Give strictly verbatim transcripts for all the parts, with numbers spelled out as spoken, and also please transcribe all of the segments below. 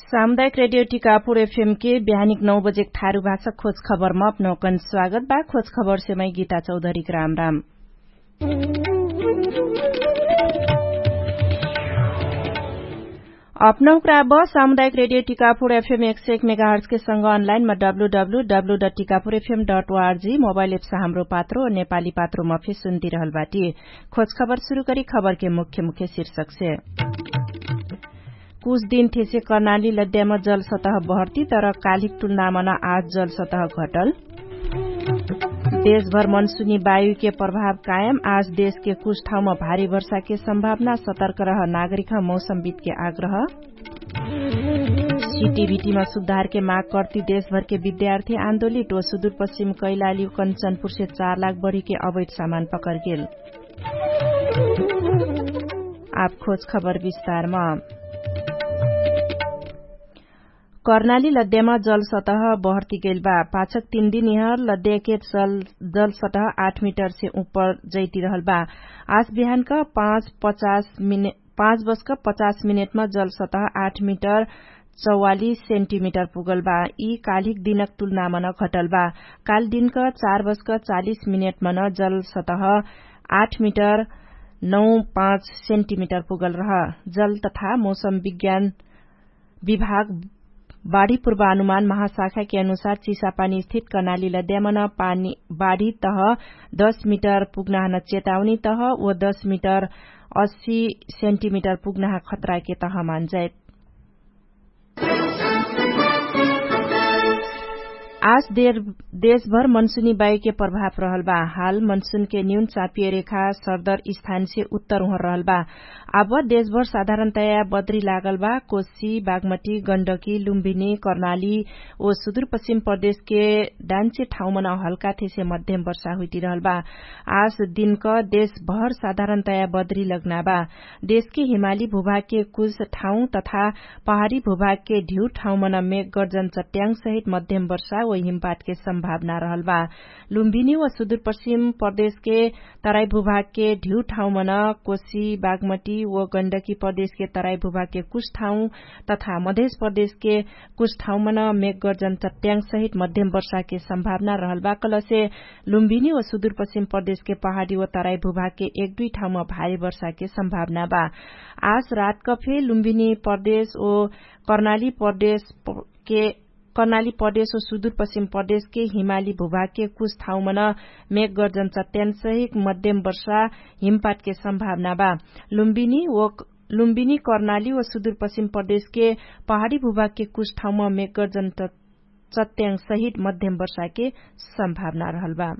सामुदायिक रेडियो टिकापुर एफएम के बिहानिक नौ बजेक थारु भाषा खोज खबरमा अपनौकन स्वागत बा। खोज खबर सेमै गीता चौधरीक राम राम। अपनौकरा ब सामुदायिक रेडियो टिकापुर एफएम एक सय एक मेगाहर्जके संग अनलाइनमा W W W dot Tikapur FM dot ORG mobile apps Hamro Patro नेपाली पात्रोमा फे सुन्दिरहल बाटी। खोज खबर सुरु करी खबरके मुख्य मुख्य शीर्षकसे। कुछ दिन थेसे कर्णाली लद्यामा जलसतह बहर्ती तर कालिक तुलनामा न आज जलसतह घटल। देशभर मनसुनी वायुके प्रभाव कायम आज देशके कुछ ठाउँमा भारी वर्षाके सम्भावना सतर्क रह नागरिकह मौसमविदके आग्रह। सिटिभिटिमा सुधारके माग कर्ती देशभरके विद्यार्थी आन्दोलित ओ सुदुरपश्चिम कैलाली कन्चनपुरसे चार लाख बढीके अवैध सामान पकरगेल। आप खोज खबर विस्तारमा। कर्णाली लद्यामा जलसतह बहर्ती गैल बा। पाछक तीन दिन यहर लद्याके जलसतह आठ मिटरसे उपर जैतिरहल बा। आज बिहानक पाँच बजक पचास मिनेटमा जलसतह आठ मिटर चौवालिस सेन्टिमिटर पुगल बा। यी कालिक दिनक तुलनामा न घटल बा। काल दिनक चार बजक चालिस मिनेटमा न जलसतह आठ मिटर नौ पाँच सेन्टिमिटर पुगल रह। जल तथा मौसम विज्ञान विभाग बाढी पूर्वानुमान महाशाखाके अनुसार चिसापानी स्थित कर्णाली लद्यामा न पानी बाढी तह दश मिटर पुग्नाहन चेतावनी तह ओ दश मिटर अस्सी सेन्टिमिटर पुग्नाह खतराके तह मान्जाइत। आज देशभर मनसुनी वायुके प्रभाव रहल बा। हाल मनसुनके न्यून चापिय रेखा सरदर स्थानसे उत्तर उहर रहल बा। अब देशभर साधारणतया बद्री लागल बा। कोशी बागमटी गण्डकी लुम्भिनी कर्णाली ओ सुदुरपश्चिम प्रदेशके डान्चे ठाउँमन हल्का थेसे मध्यम वर्षा हुइटिरहल बा। आज दिनक देशभर साधारणतया बद्री लग्ना बा। देशके हिमाली भूभागके कुछ ठाउँ तथा पहाडी भूभागके ढिउ ठाउँमन मेघ गर्जन चट्याङ सहित मध्यम वर्षा ओ हिमपातके सम्भावना रहल बा। लुम्भिनी ओ सुदुरपश्चिम प्रदेशके तराई भूभागके ढिउ ठाउँमन कोशी बागमटी ओ गण्डकी प्रदेशके तराई भूभागके कुछ ठाउँ तथा मधेश प्रदेशके कुछ ठाउँमन मेघ गर्जन चट्याङ सहित मध्यम वर्षाके सम्भावना रहल बा कहलसे लुम्भिनी ओ सुदुरपश्चिम प्रदेशके पहाडी ओ तराई भूभागके एक दुई ठाउँमा भारी वर्षाके सम्भावना बा। आज रातक फे लुम्भिनी प्रदेश ओ कर्णाली प्रदेश के कर्णाली प्रदेश ओ सुदुरपश्चिम प्रदेशके हिमाली भूभागके कुछ ठाउँमन मेघ गर्जन चट्यान सहित मध्यम वर्षा हिमपातके सम्भावना बा। लुम्बिनी ओ लुम्बिनी कर्णाली ओ सुदुरपश्चिम प्रदेशके पहाडी भूभागके कुछ ठाउँम मेघ गर्जन चट्यान सहित मध्यम वर्षाके सम्भावना रहल बा।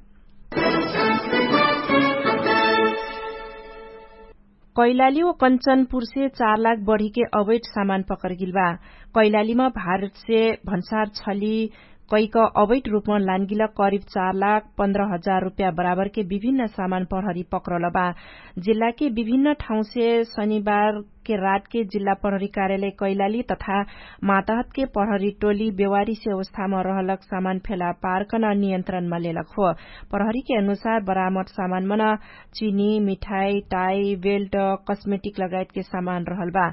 कैलाली ओ कन्चनपुरसे चार लाख बढीके अवैध सामान पकरगिल बा। कैलालीमा भारतसे भन्सार छली कैक अवैध रुपमा लानगिल करिब चार लाख पन्ध्र हजार रुप्या बराबरके विभिन्न सामान प्रहरी पक्रल बा। जिल्लाके विभिन्न ठाउँसे शनिबारके रातके जिल्ला प्रहरी कार्यालय कैलाली तथा मातहतके प्रहरी टोली बेवारीसे अवस्थामा रहलक सामान फेला पार्कन नियन्त्रणमा लेलक हो। प्रहरीके अनुसार बरामद सामानमन चिनी मिठाई टाई बेल्ट कस्मेटिक लगायतके सामान रहल बा।